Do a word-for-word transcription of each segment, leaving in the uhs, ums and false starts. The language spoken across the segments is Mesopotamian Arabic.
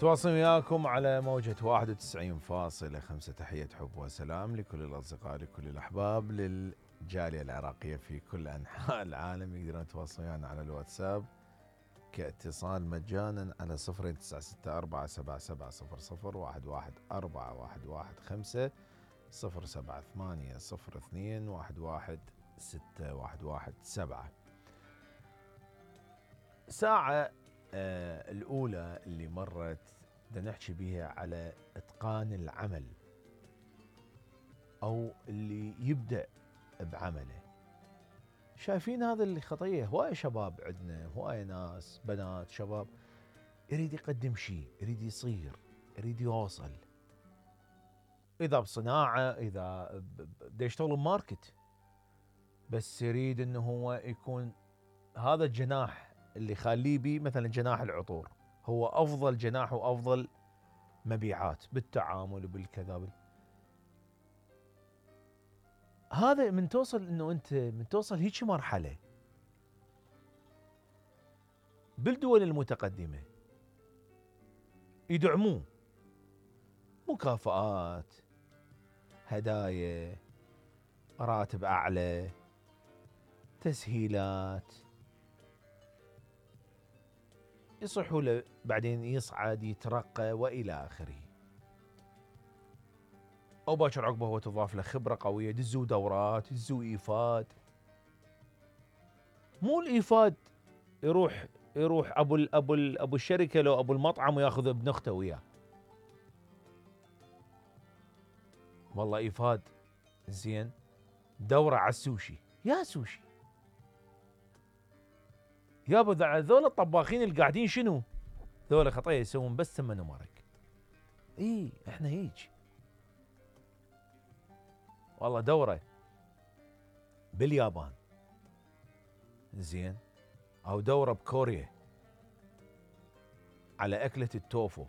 تواصل وياكم على موجة واحد وتسعين فاصلة خمسة. تحية حب وسلام لكل الأصدقاء لكل الأحباب للجالية العراقية في كل أنحاء العالم. يقدرون يتواصلون ويانا على الواتساب كاتصال مجانا على صفر تسعة ستة أربعة سبعة سبعة صفر صفر واحد واحد أربعة واحد واحد خمسة صفر سبعة ثمانية صفر اثنين واحد واحد ستة واحد واحد سبعة. ساعة آه الأولى اللي مرت بدنا نحكي بيها على إتقان العمل أو اللي يبدأ بعمله. شايفين هذا اللي خطية؟ هواية شباب عندنا، هواية ناس بنات شباب يريد يقدم شيء، يريد يصير، يريد يوصل، إذا بصناعة، إذا بده يشتغل بماركت، بس يريد إنه هو يكون هذا الجناح اللي خليه بيه، مثلا جناح العطور هو أفضل جناح وأفضل مبيعات بالتعامل وبالكذا بال... هذا من توصل إنه أنت من توصل هيك مرحلة بالدول المتقدمة يدعموه، مكافآت، هدايا، راتب أعلى، تسهيلات، يصحوا له بعدين يصعد يترقى وإلى آخره. أو باكر عقبه هو تضاف له خبرة قوية، دزوا دورات، دزوا إيفاد. مو الإيفاد يروح يروح أبو ال أبو ال أبو الشركة لو أبو المطعم وياخذ ابن أخته وياه. والله إيفاد زين دورة على السوشي، يا سوشي يابا ذول الطباخين اللي قاعدين شنو؟ ذول خطية يسوون بس ثمن ومرق. اي احنا هيج. والله دورة باليابان زين، او دورة بكوريا على اكلة التوفو،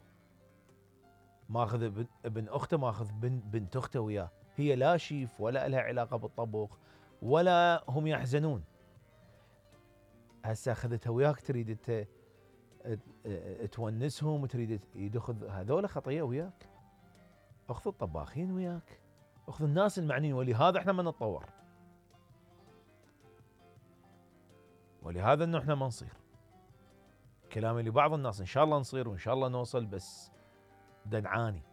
ماخذ ابن, ابن اخته، ماخذ بنت, بنت اخته وياه، هي لا شيف ولا لها علاقة بالطبخ ولا هم يحزنون. هسه اخذتها وياك تريد انت تونسهم وتريد يدخل هذول خطيه وياك. اخذ الطباخين وياك، اخذ الناس المعنيين، ولهذا احنا ما نتطور، ولهذا انه احنا ما نصير. كلامي لبعض الناس ان شاء الله نصير وان شاء الله نوصل، بس دنعاني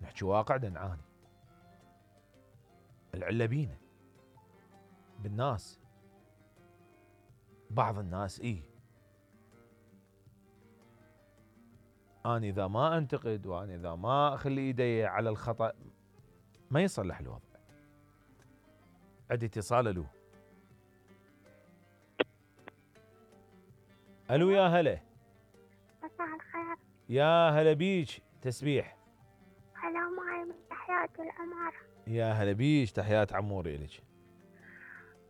نحكي واقع، دنعاني العله بينا بالناس. بعض الناس ايه أنا إذا ما أنتقد وأنا إذا ما أخلي إيدي على الخطأ ما يصلح الوضع. عندي اتصال. ألو ألو يا هلا. مساء الخير. يا هلا بيج تسبيح. هلا معي من تحيات العمارة. يا هلا بيج، تحيات عموري إلك.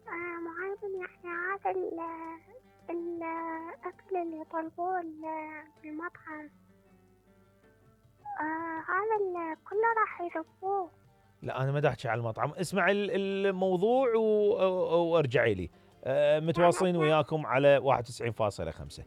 آه معي من يعني هذا ال الأكل اللي يطلبوه بالمطعم، آه هذا كله راح يذبوه. لا أنا ما دا أحكي على المطعم، اسمع الموضوع وارجعي لي. أه متواصلين وياكم على واحد وتسعين فاصلة خمسة.